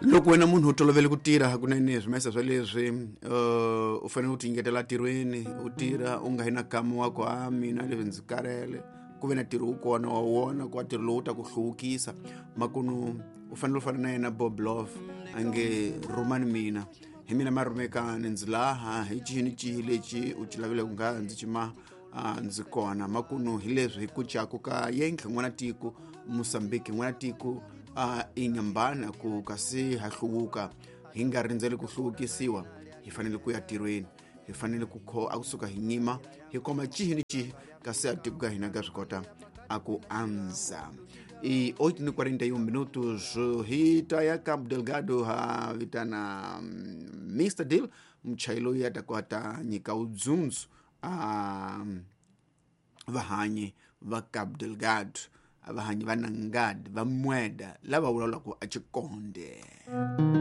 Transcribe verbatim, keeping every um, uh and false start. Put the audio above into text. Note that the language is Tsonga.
Loko wena munhu u tolovele ku tirha hakunene swimesa swa leswi uh, u fanele u tinyiketela ntirhweni, u tirha u nga yi na kama wa ku a mina leswi ndzi karhele, ku ve na ntirho wu kona wa wona ku wa ntirho lowu ta ku hluvukisa. Makunu u fanele u fana na yena Bob Love a nge rhumani mina, hi mina marhumekani, ndzi laha hi cihi ni cihi lexi u ci lavileke nga ndzi cima a ndzi kona. Makunu hi leswi hi ku caku ka yentlhe n'wana tiko Mosambiki, n'wana tiko a inyambana ku kasi ha hluvuka, hi nga rindzeli ku hluvukisiwa, hi fanele ku ya tirhweni, hi fanele ku kho a kusuka hi nyima hi koma cihi ni cihi kasi a tiko ka hina ka swi kota a ku andza. I oito ni quarenta e um minutos hi ta ya Cabo Delgado ha vitana Mister Deal, muchayi loyi a ta kota nyika udzundzu a vahanyi va Cabo Delgado, vahanyi va Nangad, va Mweda lava vulavulaka a Xikonde.